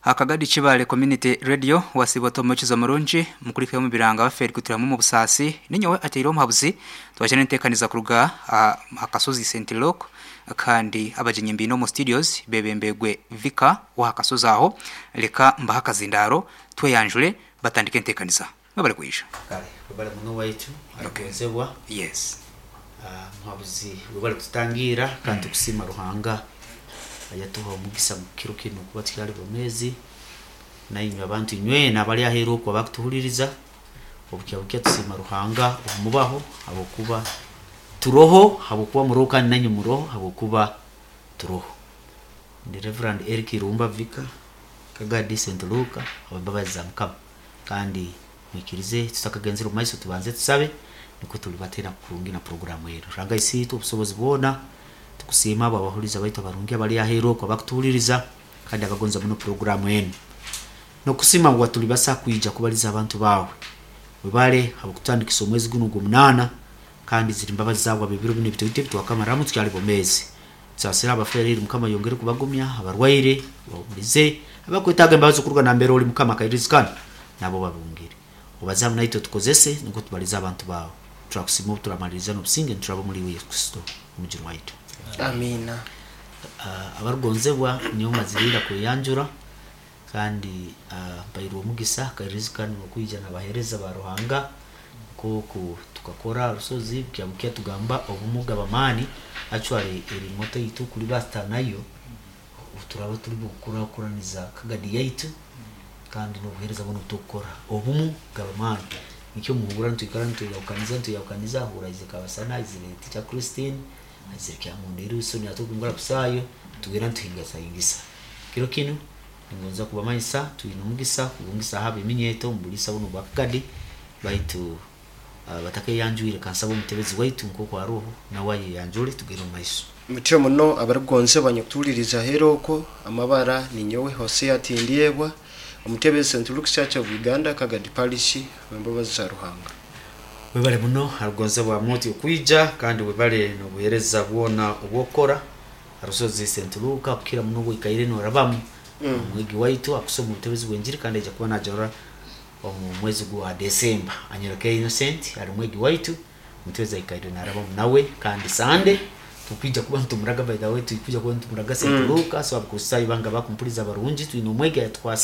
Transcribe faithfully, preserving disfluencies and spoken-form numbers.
Akagadi Kibale Community Radio wasiba omukizo murungi mukurikeyo mu biranga baferi kutiramu mu busaasi ninyowe ateire omuhabuzi twajana entekaniza kuruga akasozi Saint Luke kandi abajenyi mbino mu studios bebembegwe Vika wa akasozi aho leka mbaha akazindaro tweyanjure batandike entekaniza mwebale kwisha. Kale webale muno waitu. Okay. Agonzebwa. Yes. Ah, muhabuzi webale kututangira kandi tukusima Ruhanga ayatuha omugisa mukiro kino kuba tukyali bomezi nainywe abantu inywena abali aheeru okwo abakutuhuliriza obukya bukya tusima Ruhanga obumubaho habwokuba turoho, habwokuba muroho kandi nanywe muroho habwokuba turoho. Ndi Reverend Eric Irumba Vika, Kagadi Saint Luka, abembabazi za Mukama, kandi mwikirize tutakagenzera omu maiso tubanze tusabe niko tulibatera kurungi na programu ero. Ruhanga isiitwe obusobozi bwona, tukusiima abo abahuliza baitu abarungi abali aheeru okwo abakutuhuliriza kandi abagonza muno programu enu, nokusima ngu watulibasa kwija kubaliza abantu bawe. Webale habwokutandikisa omwezi guno ogw'omunaana, kandi ziri mbabazi zawe ab'ebiro binu ebitoito ebitwakamaramu tukyali bomezi. Tusasira abaferire, Mukama yongere kubagumya, abarwaire bahulize, abakwetaaga embabazi okuruga nambere oli Mukama akairizikana nabo babungire. Obaze hamu naitwe tukozese nukwo tubalize abantu bawe. Turakusima obu turamaliriza n'obusinge nituraba omuli iwe Yesu Kristo omujuni waitu. Amiina. uh, abarugonzebwa niyo mazirira kweyanjura kandi uh, mpairwe omugisa kairizikana okwija n'abaheereza ba Ruhanga nkoku tukakora rusozi bukya bukya tugamba obumuga bamaani. Actually eri moto yitu kuli basita nayo turaba turi bukurakuraniza Kagadi yaitu kandi n'obuheereza buno butukukora obumu gabamaani nikyo muhura nitwikara nitweyahukaniza nitweyahukaniza hura ize Kabasana, izire Teacher Christine, izire Kyamunderi Wilson atugungura kusayo tugera nituhingasahingisa. Kiro kinu ningonza kubamanyisa twine omugisa kubungisa haba eminyeto omubulisa buno bwa Kagadi baitu uh, batakeyanjwire kansaba omutebezi waitu nk'oku aroho nawe ayeyanjure tugere omu maiso. Mutyo muno abarugonzebwa nyakutuhuliriza aheeru okwo, amabara ninyowe Hosea Tindyebwa, omutebezi Saint Luke's Church of Uganda, Kagadi Parish, wembabazi za Ruhanga. Webale muno arugonzebwa moti okwija kandi webale n'obuheereza bwona obwokukora arusozi Saint Luka kukira muno obwikaire norabamu. Mm. Omwegi waitu akusoma obutebezi bw'enjiri kandi aija kuba najora omu mwezi gwa Desemba. Anyereke Innocent ali mwegi waitu, omutebezi aikaire narabamu nawe kandi Sande tukwija kuba nitumuraga, by the way tukwija kuba nitumuraga Saint Mm. Luka. So abakristaayo banga bakumpuliza abarungi, twine omwegi ayatukwasiire.